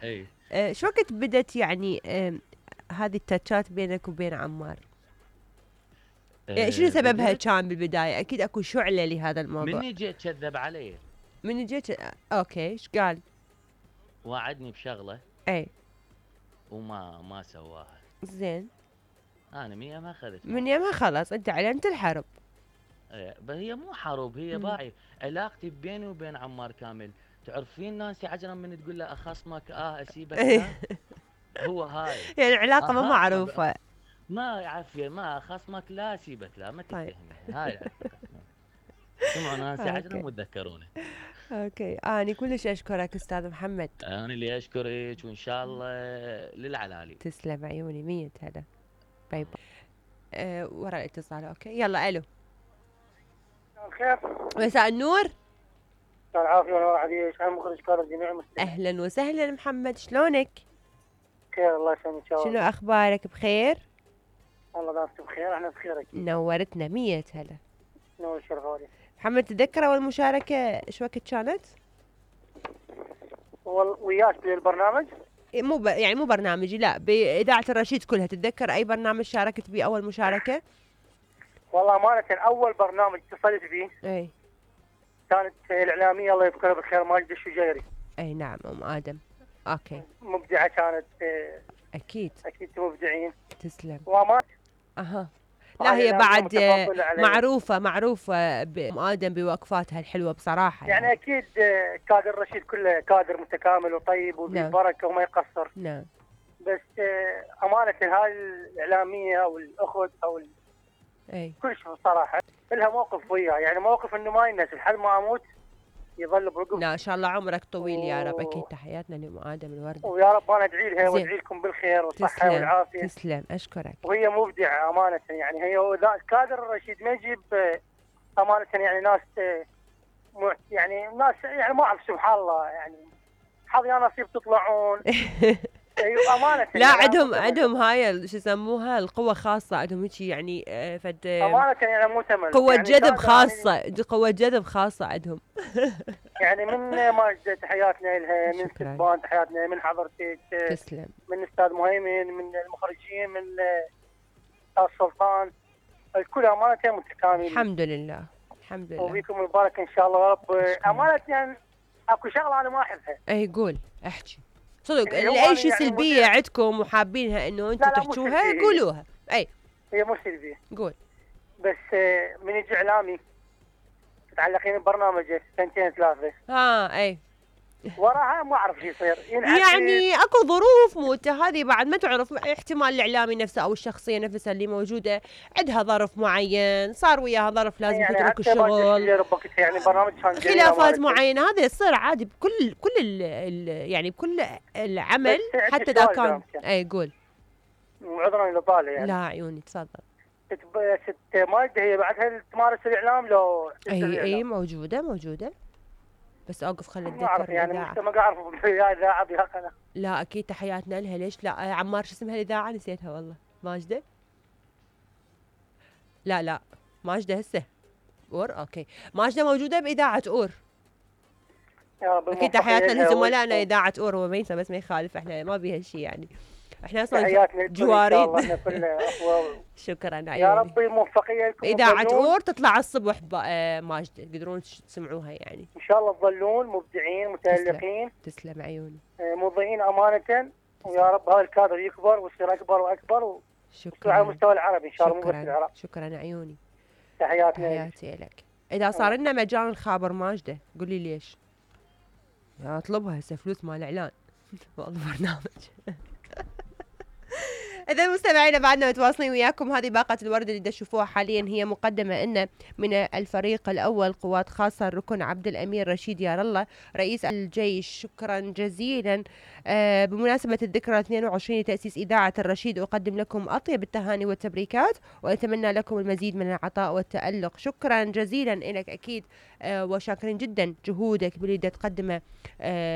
اي شو وقت بدت يعني هذه التاتشات بينك وبين عمار؟ يعني شنو سببها كان بالبداية؟ أكيد أكو شعلة لهذا الموضوع. مني جيت كذب علي. من جيت أوكي إيش قال؟ وعدني بشغلة أي وما سواها. زين. أنا مية ما أخذت من يومها خلاص أنت أعلنت الحرب. بس هي مو حرب، هي باعي علاقتي بيني وبين عمار كامل. تعرفين نانسي عجرم من تقول له أخصمك أسيبك لا هو هاي يعني علاقة ما معروفة. ما عافية ما خصمك لا سيبك لا ما تتهمني. هاي العلاقة. سمعوا نانسي عجرم وتذكرونه. اوكي أنا كلش أشكرك أستاذ محمد. أنا اللي أشكرك وإن شاء الله للعلالي. تسلم عيوني 100 هلا. باي باي. ورا الاتصال. أوكي يلا ألو. خير. مساء النور. مساء العافية ونور عليك. أنا مخرج كار الجميع المستمعين. أهلا وسهلا محمد شلونك؟ بخير الله يسلمك إن شاء الله. شنو أخبارك بخير؟ والله دامت بخير احنا بخير أكيد. نورتنا 100 هلا. نور شرفالي. محمد تذكر أول مشاركة شو وقت كانت؟ وياك بالبرنامج؟ يعني مو برنامجي لا بإذاعة الرشيد كلها. تتذكر أي برنامج شاركت به أول مشاركة؟ والله أمانة أول برنامج اتصلت به أي كانت الإعلامية الله يذكرها بالخير ماجدة الشجيري. أي نعم أم آدم. أوكي مبدعة كانت. أكيد مبدعين. تسلم. وأمانة لا هي بعد معروفة بأم آدم بوقفاتها الحلوة بصراحة يعني أكيد كادر رشيد كله كادر متكامل وطيب وبركة وما يقصر. نعم. بس أمانة هاي الإعلامية أو الأخت أو أي كل شيء بصراحة لها موقف وياه، يعني موقف إنه ما ينسى لحد ما أموت يظل برقب. لا إن شاء الله عمرك طويل يا رب. أكيد تحياتنا لأم آدم الوردة. ويا رب أنا أدعي لها وأدعي لكم بالخير والصحة والعافية. تسلم أشكرك. وهي مبدعة أمانة يعني هي كادر الرشيد ما يجيب أمانة يعني ناس يعني ناس يعني ما أعرف سبحان الله يعني حظ يا نصيب تطلعون. أيوة أمانة. لا عندهم هاي شو يسموها القوة خاصة عندهم هيك يعني فد أمانة يعني مو تمل. قوة يعني جذب خاصة يعني قوة جذب خاصة عندهم. يعني من ماجدة تحياتنا لها، من سبان تحياتنا، من حضرتك تسلم، من أستاذ مهيمن، من المخرجين، من أستاذ سلطان، الكل أمانة متكامل. الحمد لله الحمد لله. وبيكم مبارك إن شاء الله يا رب. أمانة يعني أكو شغلة أنا ما أحبها. أي قول احكي صدق أي شيء سلبية عندكم وحابينها إنه أنتم تحكوها قولوها. أي هي مو سلبية قول. بس من يجي إعلامي متعلقين ببرنامجه سنتين ثلاثة أي وراها ما أعرف شو يصير يعني أكو ظروف موته هذه بعد ما تعرف. احتمال الإعلامي نفسه أو الشخصية نفسها اللي موجودة عندها ظرف معين صار وياها ظرف لازم يعني تترك الشغل يعني برنامج خلافات معينة. هذا يصير عادي بكل يعني بكل العمل حتى إذا كان. أي قول. عذرا لطالع يعني. لا عيوني تفضل. ست ماجدة هي بعدها تمارس الإعلام لو أي موجودة بس أوقف خلي أتذكر يعني ما أعرف إذاعة بها قناة. لا أكيد تحياتنا لها. ليش لا عمار شو اسمها الإذاعة نسيتها والله. ماجدة لا ماجدة هسه أور. أوكي ماجدة موجودة بإذاعة أور. أكيد تحياتنا لزملائنا إذاعة أور وميسة بس ما يخالف احنا ما بيها شيء يعني احنا اصلا جوارين. شكرا يا ربي موفقيه لكم. اذاعه اور تطلع الصبح ماجده تقدرون تسمعوها يعني ان شاء الله تظلون مبدعين متالقين. تسلم عيوني. مضيئين امانه ويا رب هذا الكادر يكبر ويصير اكبر واكبر شكرا على المستوى العربي ان شاء الله مو بس العراق. شكرا عيوني. تحياتي لك. اذا صار لنا مجال خابر ماجده قولي ليش اطلبها هسه فلوس مال اعلان برنامج. إذا مستمعينا بعدنا متواصلين وياكم. هذه باقة الورد اللي تشوفوها حاليا هي مقدمة إن من الفريق الأول قوات خاصة الركن عبد الأمير رشيد يار الله رئيس الجيش. شكرا جزيلا. بمناسبة الذكرى 22 لتأسيس إذاعة الرشيد أقدم لكم أطيب التهاني والتبريكات وأتمنى لكم المزيد من العطاء والتألق. شكرا جزيلا لك أكيد وشاكرين جدا جهودك باللي تقدمه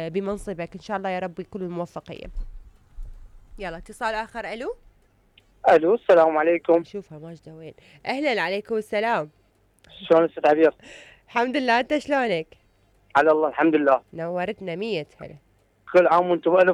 بمنصبك. إن شاء الله يا رب كل الموفقية. يلا اتصال آخر. ألو السلام عليكم. شوفها ماجدة وين. أهلا عليكم السلام. شلون أستاذ عبير؟ الحمد لله أنت شلونك؟ على الله الحمد لله. نورتنا 100 هلا. كل عام وأنتم بألف